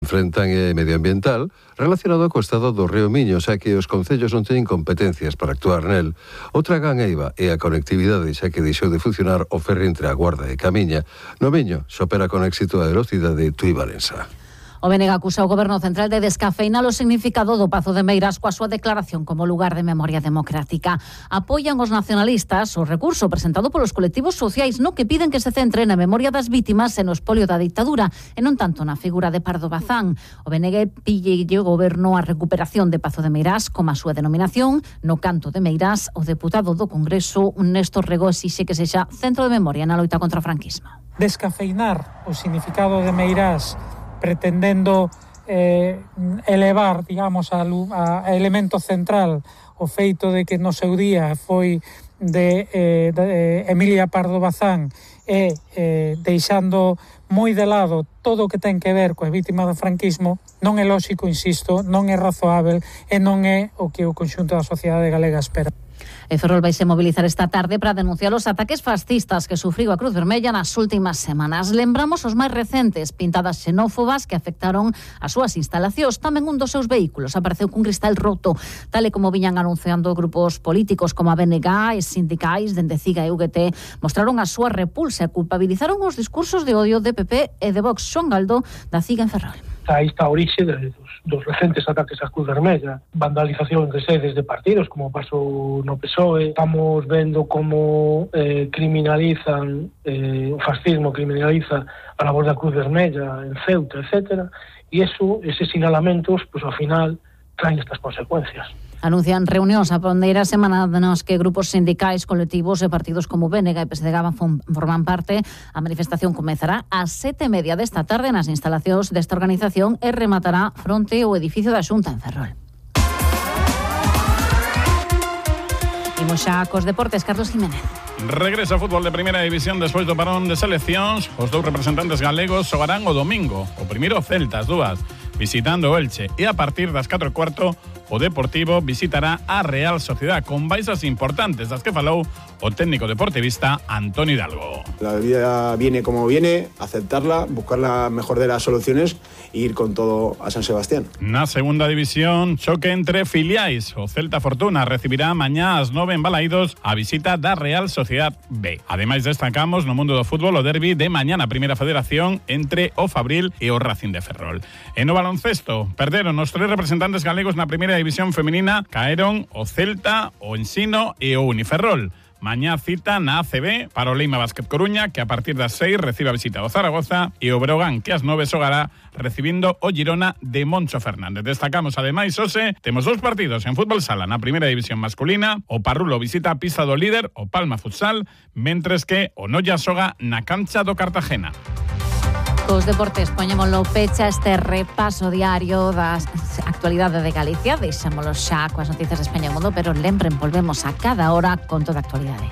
enfrentan medioambiental relacionado co estado do río Miño, xa que os concellos non teñen competencias para actuar nel. Outra ganeiva é a conectividade, xa que deixou de funcionar o ferry entre a Guarda e Camiña. No Miño xa opera con éxito a velocidade Tui-Valença. O BNG acusa o Goberno Central de descafeinar o significado do Pazo de Meirás coa súa declaración como lugar de memoria democrática. Apoian os nacionalistas o recurso presentado polos colectivos sociais no que piden que se centre na memoria das vítimas e no espolio da ditadura e non tanto na figura de Pardo Bazán. O BNG pille o Goberno a recuperación de Pazo de Meirás como a súa denominación. No canto de Meirás, o deputado do Congreso, Néstor Rego, exixe que sexa centro de memoria na loita contra o franquismo. Descafeinar o significado de Meirás pretendendo elevar, digamos, a elemento central o feito de que no seu día foi de Emilia Pardo Bazán e deixando moi de lado todo o que ten que ver coa vítima do franquismo, non é lóxico, insisto, non é razoável e non é o que o conxunto da sociedade galega espera. Ferrol vaise mobilizar esta tarde para denunciar os ataques fascistas que sufriu a Cruz Vermella nas últimas semanas. Lembramos os máis recentes, pintadas xenófobas que afectaron as súas instalacións. Tamén un dos seus vehículos apareceu cun cristal roto, tal e como viñan anunciando grupos políticos como a BNG e sindicais dende CIGA e UGT, mostraron a súa repulsa e culpabilizaron os discursos de odio de PP e de Vox. Xoán Galdo, da CIGA en Ferrol. Aí está a orixe dos recentes ataques á Cruz Vermella, vandalización de sedes de partidos, como pasou no PSOE. Estamos vendo como criminalizan, o fascismo criminaliza a labor da Cruz Vermella en Ceuta, etc. E eses sinalamentos, pues ao final, traen estas consecuencias. Anuncian reunións a pondeira semana nos que grupos sindicais, colectivos e partidos como BNG e PSDG forman parte. A manifestación comezará ás 7:30 desta tarde nas instalacións desta organización e rematará fronte ao edificio da Xunta en Ferrol. Imos xa cos deportes, Carlos Jiménez. Regresa o fútbol de primeira división despois do parón de seleccións. Os dous representantes galegos xogarán o domingo. O primeiro Celta, as dúas, visitando o Elche. E a partir das 4:15 o Deportivo visitará a Real Sociedad con baixas importantes das que falou o técnico deportivista Antonio Hidalgo. La vida viene como viene, aceptarla, buscar la mejor de las soluciones e ir con todo a San Sebastián. Na segunda división, choque entre filiais. O Celta Fortuna recibirá mañá ás 9 en Balaídos a visita da Real Sociedad B. Ademais destacamos no mundo do fútbol o derbi de mañá na Primeira Federación entre o Fabril e o Racing de Ferrol. E no baloncesto, perderon os tres representantes galegos na Primeira División feminina, caeron o Celta, o Ensino e o Uniferrol. Mañá cita na ACB para o Leima Basket Coruña, que a partir das 6 recibe a visita do Zaragoza, e o Breogán, que ás 9 xogará recibindo o Girona de Moncho Fernández. Destacamos ademais, hoxe, temos dous partidos en fútbol sala na Primeira División masculina. O Parrulo visita a pista do líder, o Palma Futsal, mentres que o Noia xoga na cancha do Cartagena. Os deportes, poñémolo pecha este repaso diario da actualidade de Galicia. Deixámolo xa coas noticias de España e o mundo, pero lembren, volvemos a cada hora con toda a actualidade.